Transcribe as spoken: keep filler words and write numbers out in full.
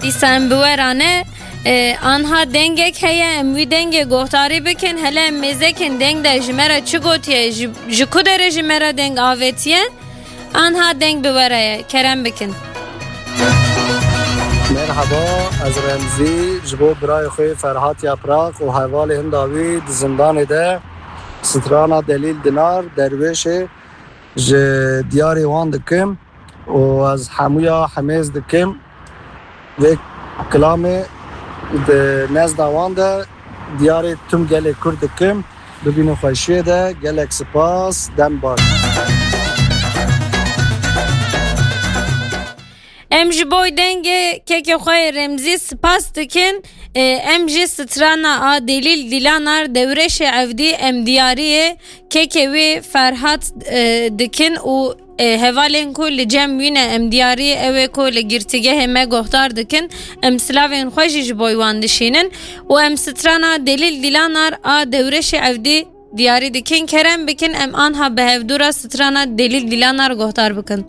Dîsa em bi we re ne, e, anha dengek heye, em wî dengê guhdarî bikin. Hele em mêzekin deng de ji me re çi gotiye, ji, ji ku derê ji me re deng avêtiye? Anha deng bi we re ye, kerem bikin. Merhaba, ez Remzî, ji bo birayê xwe Ferhat Yaprak û hevalê hinda wî di zindanê de strana Delîl Dinar Derwêşê ji diyarê wan dikim û ez hemûya hemêz dikim. Vê kilamê di nezda wan de diyarê tim gelê Kurd dikim. Bibînin xweşiyê de, gelek spas, dem baş. Em ji bo dengê kekê xwe yê Remzî spas dikin. E, em jî strana a Delîl Dilanar Dewreşê Evdî em diyariyê kekê wî Ferhat, e, dikin û, e, hevalên ku li cem wî ne em diyariyê ew ê ku li girtîgehê me guhdar dikin. Em silavên xwe jî ji bo wan dişînin û em strana Delîl Dilanar a Dewreşê Evdî diyarî dikin. Kerem bikin em anha bi hevdû re strana Delîl Dilanar guhdar bikin.